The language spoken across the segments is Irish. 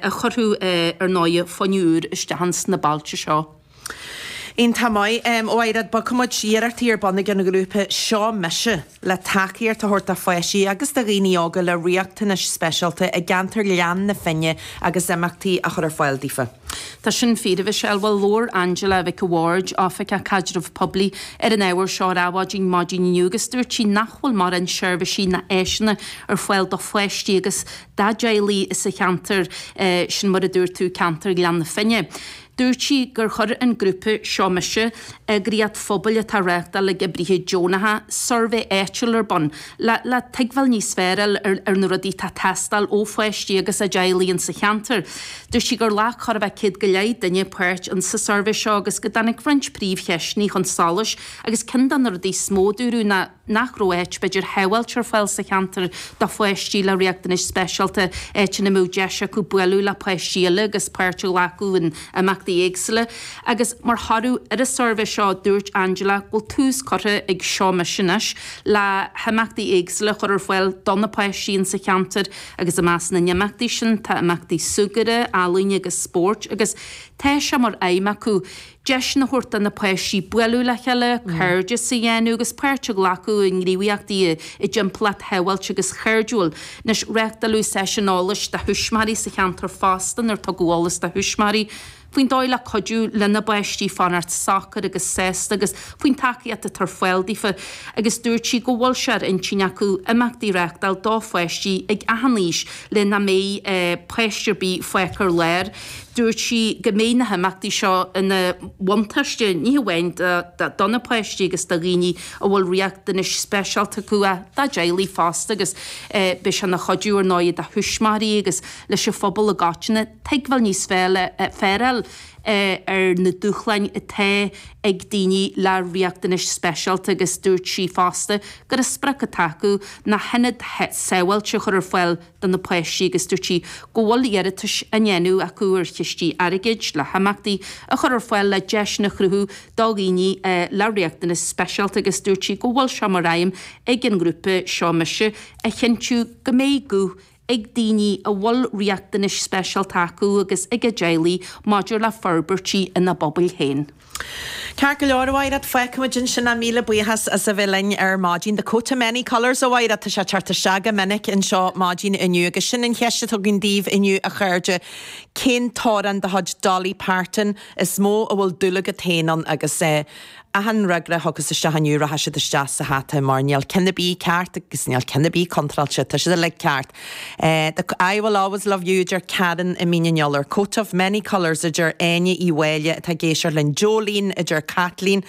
A chuirfeadh, ar ndóighe, fuinneamh úr isteach ins na bailte seo. Iontach maith. A Mhaighread, bogfaidh muid iarrachtaí ar bun ag an ghrúpa Seo Mise le tacaíocht a thabhairt do pháistí agus do dhaoine óga le riachtanais speisialta i gceantar Ghleann na Finne agus imeachtaí a chur ar fáil daofa. Tá sin fíor, a Mhichelle. Bhuel, labhair Angela Mhic a' Bhaird, Oifigeach Caidrimh Poiblí, ar an ábhar seo ar Adhmhaidin maidin inniu agus dúirt sí nach bhfuil mórán seirbhísí ná áiseanna ar fáil do pháistí agus dá dteaghlaigh sa cheantar sin, mar a dúirt tú, ceantar Ghleann na Finne. Dúirt sí gur chuir an grúpa Seo Mise, eagraíocht phobail atá á reáchtáil ag oibrithe deonacha, suirbhé áitiúil ar bun le le tuigbheáil níos fearr a fháil ar na rudaí atá ag teastáil ó pháistí agus a dteaghlaigh insa cheantar. Dúirt sí gur ghlac chóir a bheith 100 go leith duine páirt insa suirbhé seo agus go dtáinig roinnt príomhcheisteanna chun solais agus ceann de na rudaí is mó a dúradh ná nach raibh áit b'fhéidir shábháilte ar fáil sa cheantar do pháistí le riachtanais speisialta, áit ina mbeadh deis acu bualadh le páistí eile agus páirt a ghlacadh in imeachtaí éagsúla. Agus mar thoradh ar an suirbhé seo, dúirt Angela go bhfuil tús curtha ag Seo Mise anois le himeachtaí éagsúla a chur ar fáil do na páistí insa cheantar agus i measc na n-imeachtaí sin tá imeachtaí súgartha, ealaíne agus spóirt agus tá sé mar aidhm acu deiseanna a thabhairt do na páistí bualadh le chéile, cairdeas a dhéanamh agus páirt a ghlacadh i ngníomhaíochtaí i dtimpeallacht shábháilte agus chairdiúil. Anois, reáchtáladh seisiún eolais do thuismitheoirí sa cheantar fosta inar tugadh eolas do thuismitheoirí faoin dóigh le cuidiú lena bpáistí fanacht socair agus sásta agus faoin tacaíocht atá ar fáil daofa agus dúirt sí go bhfuil sé ar intinn acu imeachtaí a reáchtáil do pháistí ag achan aois le nach mbeidh páiste ar bith fágtha ar lár. Dúirt sí go mbeidh na himeachtaí seo ina bhuntáiste ní hamháin do na páistí agus do dhaoine a bhfuil riachtanais speisialta acu ach dá dteaghlaigh fosta agus beidh sé ina chuidiú ar ndóigh do thuismitheoirí agus leis an phobal i gcoitinne tuigbheáil níos fearr a fháil ar na dúshláin atá ag daoine le riachtanais speisialta agus dúirt sí fosta gur an sprioc atá acu ná hionad sábháilte a chur ar fáil do na páistí agus dúirt sí go bhfuil iarratais á ndéanamh acu ar chistí airgid le himeachtaí a chur ar fáil le deiseanna a chruthú do dhaoine le riachtanais speisialta agus dúirt sí go bhfuil sé mar aidhm ag an ngrúpa Seo Mise a chinntiú go mbeidh guth ag daoine a bhfuil riachtanais speisialta acu agus ag a dteaghlaigh maidir le forbairtí ina bpobail féin. Ceart go leor, a Mhaighread, fágfaimid ansin é. Míle buíochas as a bheith linn ar maidin. The coat of many colours, a Mhaighread, tá sé ag teacht isteach go minic anseo maidin inniu agus sin an cheist atá againn daoibh inniu, a chairde, cén t-amhrán de chuid Dolly Parton is mó a bhfuil dúil agat féin ann agus eh, achan fhreagra a thiocfas isteach inniu rachaidh siad isteach sa hata mar níl ceann ar bith ceart agus níl ceann ar bith contráilte, tá siad uilig ceart. The I Will Always Love You a deir Karen i Mín an Iolair, Coat of Many Colours a deir Áine Uí Mháille atá ag éisteacht linn, Jolene a deir Caitlín,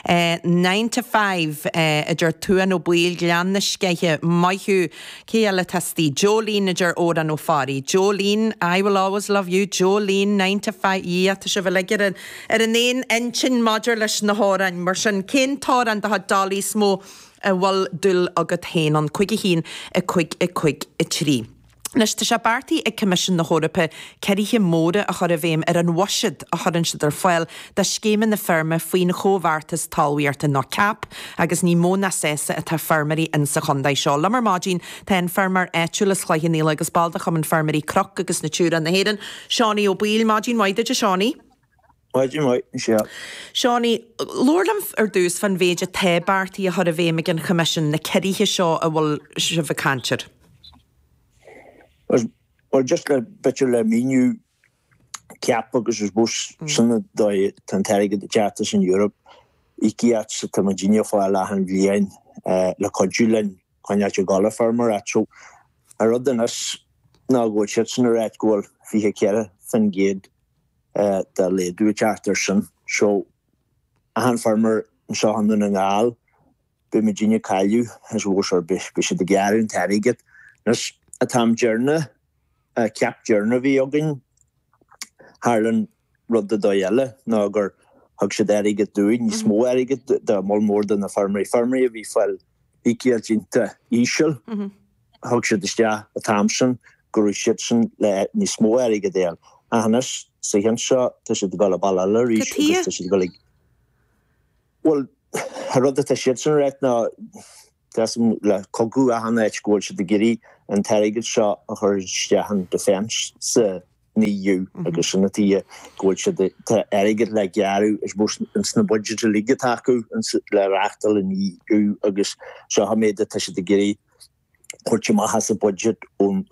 9 to 5 a deir Tuan Ó Baoill, Gleann na Sceiche, maith thú, cé eile atá istigh? Jolene a deir Odhrán Ó Fearraigh, Jolene, I Will Always Love You, Jolene, 9 to 5, yeah tá sibh uilig ar an ar an aon intinn maidir leis na hamhráin, mar sin cén t-amhrán de chuid Dolly is mó a bhfuil dúil agat féin ann? 5 1 5 5 3. Anois, tá sé beartaithe ag Coimisiún na hEorpa ciorruithe móra a chur i bhfeidhm ar an bhuiséad a chuireann siad ar fáil do scéimeanna feirme faoin Chomhbheartas Talmhaíochta nó cap agus ní mó ná sásta atá feirmeoirí insa chontae seo. Liom ar maidin tá an feirmeoir áitiúil as Cloich Cheann Fhaola agus ball de Chumann Feirmeoirí Cnoc agus Natura na hÉireann, Seánie Ó Baoill. Maidin mhaith duit a Seánie. Maidin mhaith, Michelle. Seánie, labhair liom ar dtús fán mhéid atá beartaithe a chur i bhfeidhm ag an Choimisiún, na ciorruithe seo a bhfuil sibh ag caint air. Bhuel, just le, b'fhéidir le míniú, cap agus I suppose sin an dóigh tá an t-airgead ag teacht as an Europe, íocaíocht atá muidinne a fáil achan bhliain le cuidiú linn coinneáilt ag dul ag feirmeoireacht. So, an rud anois ná go bhfuil siadsan ag ráit go bhfuil 24% de laghdú ag teacht air sin. So, achan feirmeoir anseo i nDún na nGall, beidh muidinne ag cailleadh, I suppose, or beidh siad ag gearradh an t-airgead. Anois, an t-am deireanach, an cap deireanach a bhí againn, tharla an rud de dóigh eile, ná gur thug siad airgead dúinn, níos mó airgid do moll mór de na feirmeoirí, feirmeoirí a bhí ag fáil íocaíocht iontach íseal. Thug siad isteach an t-am sin go raibh siadsan le níos mó airgid a fháil. Ach anois, sa cheann seo, tá siad ag dul an bealach eile arís agus tá siad ag dul ag. Bhuel, an rud atá siadsan ag ráit ná, tá a fhios agam le cogadh achan áit go bhfuil siad ag iarraidh an t-airgead seo a chur isteach in defence sa. an EU agus sin an tuige go bhfuil siad, tá airgead le gearradh I suppose ins na budgets uilig atá acu le reachtáil an EU agus seo an méid atá siad ag iarraidh thabhairt amach as an budget ón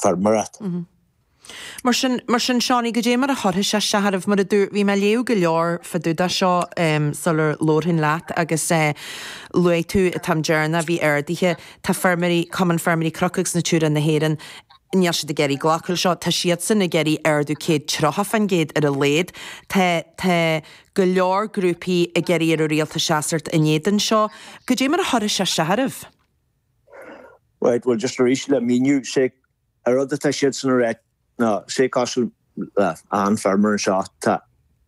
feirmeoireacht. Mar sin, mar sin, Seánie, goidé mar a chuirfidh sé isteach oraibh, mar a dúirt, bhí mé ag léamh go leor fá dtaobh de seo sular labharfainn leat agus luaigh tú an t-am deireanach a bhí ardaithe, tá feirmeoirí, Cumann Feirmeoirí Cnoc agus Natura na hÉireann, níl siad ag iarraidh glacadh leis seo, tá siadsan ag iarraidh ardú 130% ar a laghad. Tá, tá go leor grúpaí ag iarraidh ar an rialtas seasamh in éadan seo. Goidé mar a chuirfidh sé isteach oraibh? Right, well just arís le míniú, sé an rud atá siadsan a rá ná sé cosúil le achan feirmeoir anseo tá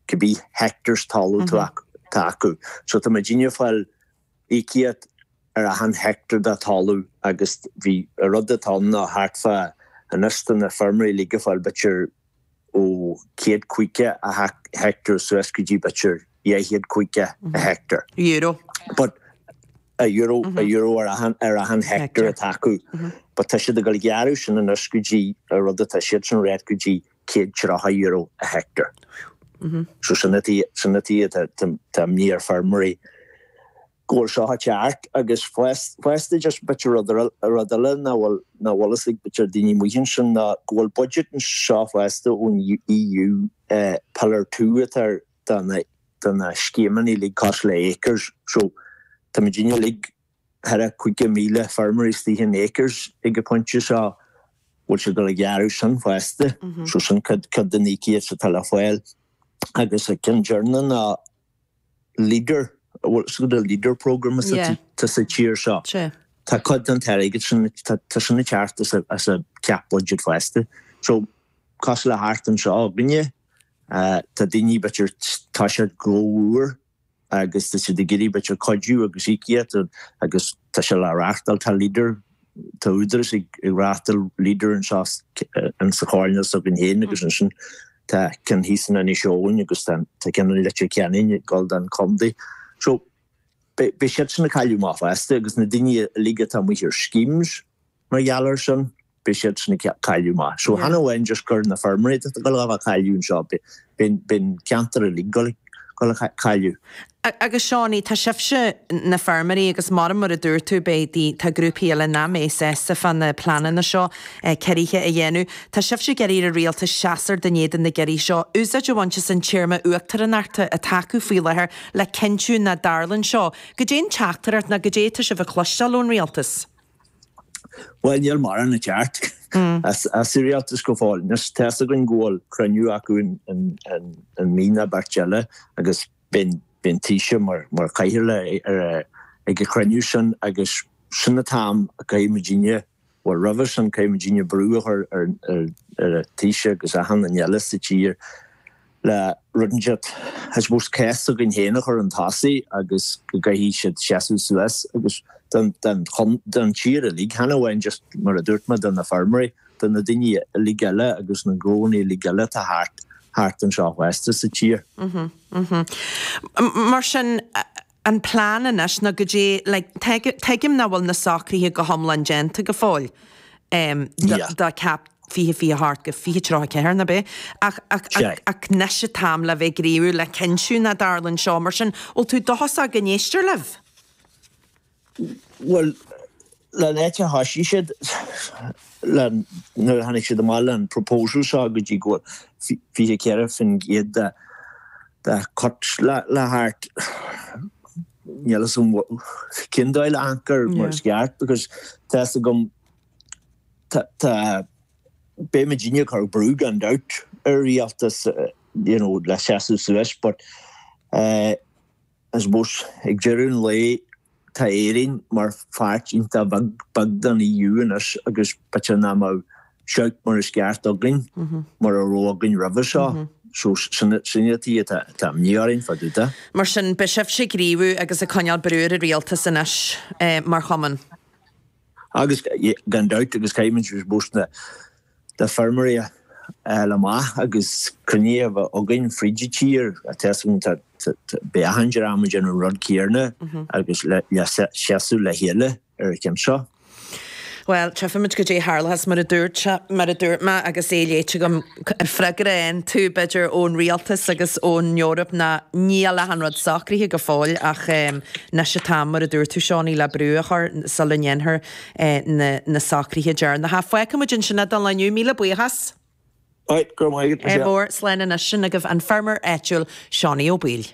cibé hectares talamh tá acu. So tá muidinne ag fáil íocaíocht ar achan hectare de talamh agus bhí an rud atá ann ná thart fá anois tá na feirmeoirí uilig ag fáil b'fhéidir ó 150 a heicteár suas go dtí b'fhéidir 250 a heicteár. Euro. But a euro, a euro ar achan, ar achan heicteár atá acu. But tá siad ag dul a ghearradh sin anois go dtí, an rud atá siadsan a rá go dtí €130 a heicteár. So sin an tuige, sin an tuige tá, tá imní ar feirmeoirí go bhfuil seo ag teacht agus fosta just b'fhéidir rud rud eile nach bhfuil nach bhfuil fhios ag b'fhéidir daoine amuigh ansin ná go bhfuil budget anseo fosta ón EU Pillar 2 atá ar do na do na scéimeanna uilig cosúil le Acres so tá muidinne uilig thar 50,000 feirmeoirí istigh in Acres ag an pointe seo bhfuil siad ag dul a ghearradh sin fosta so sin cuid cuid den íocaíocht atá le fáil agus an ceann deireanach ná Leader, bhfuil fhios agat an Leader programme atá sa tír seo. Tá cuid den t-airgead sin, tá sin ag teacht as an CAP budget fosta. So, cosúil le thart anseo againne, tá daoine b'fhéidir, tá siad gnó úr agus tá siad ag iarraidh b'fhéidir cuidiú agus íocaíocht agus tá sé le reachtáil, tá Leader, tá údarás ag reachtáil Leader anseo insa choirnéal s'againn féin agus ansin tá ceann thíos in Inis Eoghain agus tá ceann i Leitir Ceanainn ag dul don chontae. So beidh siadsan ag cailleadh amach fosta agus na daoine uilig atá amuigh ar schemes mar gheall air sin, beidh siadsan ag cailleadh amach. So chan amháin just gur na feirmeoirí atá ag dul a bheith ag cailleadh anseo, beidh an ceantar uilig ag dul a cailleadh. Agus Seánie, tá sibhse, na feirmeoirí, agus mar mar a dúirt tú, beidh, tá grúpaí eile nach mbeidh sásta fá na pleananna seo ciorruithe a dhéanamh. Tá sibhse ag iarraidh ar an rialtas seasamh in éadan na gciorruithe seo, úsáid a bhaint as an téarma uachtaránachta atá acu faoi láthair le cinntiú nach dtarlaíonn seo. Goidé an teachtaireacht nó goidé atá sibh a chloisteáil ón rialtas? Bhuel, níl mórán ag teacht as an rialtas go fóill. Anois, tá's againn go bhfuil cruinniú acu in mí nó beirt eile agus beidh an Taoiseach mar chathaoirleach ag an chruinniú sin agus sin an t-am a gcaithfidh muidinne, bhuel roimhe sin caithfidh muidinne brú a chur ar an Taoiseach agus achan duine eile sa tír le rud inteacht, I suppose, cás s'againn féin a chur chun tosaigh agus go gcaithfidh siad seasamh suas agus don tír uilig, chan amháin just mar a dúirt mé do na feirmeoirí, do na daoine uilig eile agus na gnóanna uilig eile atá thart thart anseo fosta sa tír. Mar sin, an plean anois ná goidé, like, tuigim nach bhfuil na socruithe go hiomlán déanta go fóill do CAP 2028 go 2034 nó b'é, ach ach ach anois an t-am le bheith ag gníomhú le cinntiú nach dtarlaíonn seo. Mar sin, bhfuil tú dóchasach go n-éistear libh? Bhuel, le an áit a thoisigh siad, le, nuair a tháinig siad amach le an proposal seo go dtí go bhfuil 24% de, de cut le, le theacht, níl fhios agam cén dóigh le amharc air mar is ceart because tá fhios agam, tá, tá, beidh muidinne ag cur brú gan dabht ar an rialtas, you know, le seasamh suas but eh, I suppose, ag deireadh an lae, tá Éirinn mar pháirt iontach bheag, beag den EU anois agus b'fhéidir nach mbeadh shout mar is ceart againn mar a raibh againn roimhe seo. So, sin, sin an tuige atá, atá imní orainn fá dtaobh de. Mar sin, beidh sibhse ag gníomhú agus ag coinneáil brú ar an rialtas anois mar chumann. Agus, gan dabht, agus caithfimid, I suppose, na feirmeoirí a fháil amach agus cruinnithe a bheith againn fríd an tír. Tá fhios agam, tá, beidh achan dream ag déanamh an rud céarna agus le seasamh le chéile ar an cheann seo. Bhuel, tchífimid goidé tharlóchas mar a dúirt sé, mar a dúirt mé agus é léite agam, an freagra a fhaigheann tú, b'fhéidir, ón rialtas agus ón Eoraip ná níl achan rud socraithe go fóill ach anois an t-am, mar a dúirt tú, Seánie, le brú a chur sula ndéanfar na socruithe deireanacha. Fágfaimid ansin é don lá inniu. Míle buíochas. Right, go raibh maith agat, Michelle. Mór, slán anois. Sin agaibh an feirmeoir áitiúil, Seánie Ó Baoill.